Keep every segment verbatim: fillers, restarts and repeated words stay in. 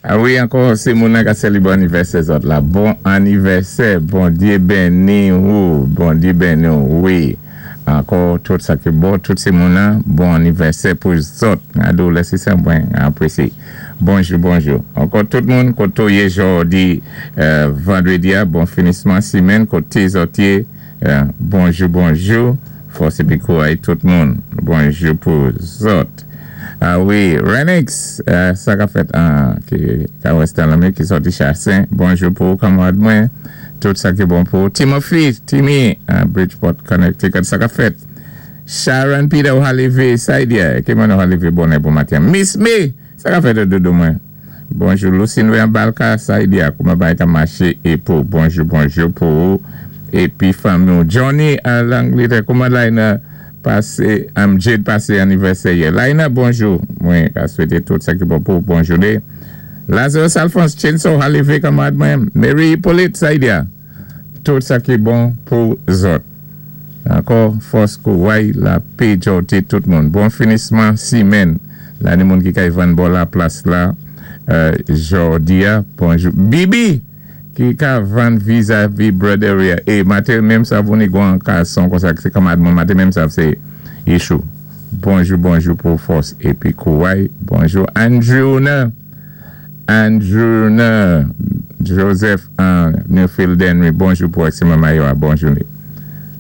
A wi, ankò, sé moun ka sélébwé anivèsè zòt la. Bon anivèsè, Bondyé béni ou, Bondyé béni ou, wi. Ankò, tout sa ki bon, tout sé moun bon anivèsè pou zòt. Ado, lèsé sa mwen apwésyé. Bonjou, bonjou. Ankò, tout moun, koté ou yé jòdi, euh, vandwédi, bon finisman simenn, koté zòt yé, euh, bonjou, bonjou. Fòs épi kouway tout moun. Bonjou pou zòt. A wi, Renix, euh, sa ka fèt an, ki ka Western Lamé, ki sòti Chassin. Bonjou pou kanmarad mwen. Tout sa ki bon pou Timothy, Timmy, uh, Bridgeport, Connecticut, sa ka fèt. Sharon Peter Halivé, Saidia, ki moun Halivé bonè pou maten. Miss Me, sa ka fèt doudou mwen. Bonjou Lucine Balka, Saidia, kouman bagay ka maché é pou bonjou, bonjou pou épi fanmi Johnny à Langletè, kouman Laina pasé, um, Jade pasé anivèsè yè. Laina, bonjou. Mwen ka swété tout sa ki bon pou bon jouné. Lazarus Alphonse Chinso Halivé, kanmarad mwen. Mary Hippolyte, Saidia. Tout sa ki bon pou zòt. Ankò, fòs kouway, lapè, jòté, tout moun. Bon finisman, simenn. La, ni moun ki kay vann bò la plas la, euh, jòdi a, bonjou. Bibi, ki ka vann vizavi Broderia. É maten menm sa vouni gwan kason kon sa sé kanmarad mwen maten menm sa sé Yeshou. Bonjou, bonjou pou fòs épi kouway. Bonjou Andrew na. Andrew na. Joseph an Newfield Henry. Bonjou pou Exima Mayo. Bonjou.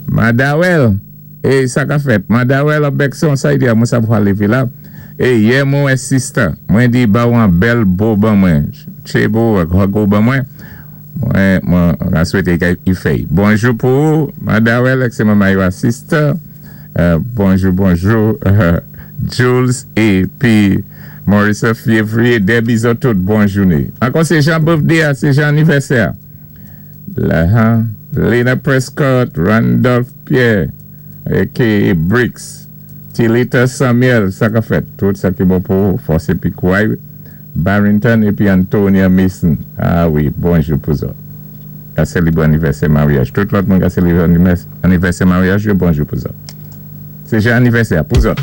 Madawel. É sa ka fèt. Madawel ap Bekson sa di mwen sa pou alé la. É yè mwen sister. Mwen di ba ou an bèl bo ban mwen. Chebo go ban mwen. Mwen, mwen swété ki fè. Bonjou pou Madawel, Exima Mayo sister. Euh, bonjou, bonjou. Jules épi Maurice Février, Debbie zòt tout, bon jouné. Ankò sé jan birthday, sé jan anivèsè. La, hein? Lena Prescott, Randolph Pierre, A K A. Bricks, Tilita Samuel, sa ka fèt. Tout sa ki bon pou fòs épi kouway, Barrington épi Antonia Mason. A wi, bonjou pou zòt. Ka sélébwé anivèsè maryaj. Tout lòt moun ka sélébwé anivèsè maryaj, bonjou pou zòt. Sé jan anivèsè pou zòt.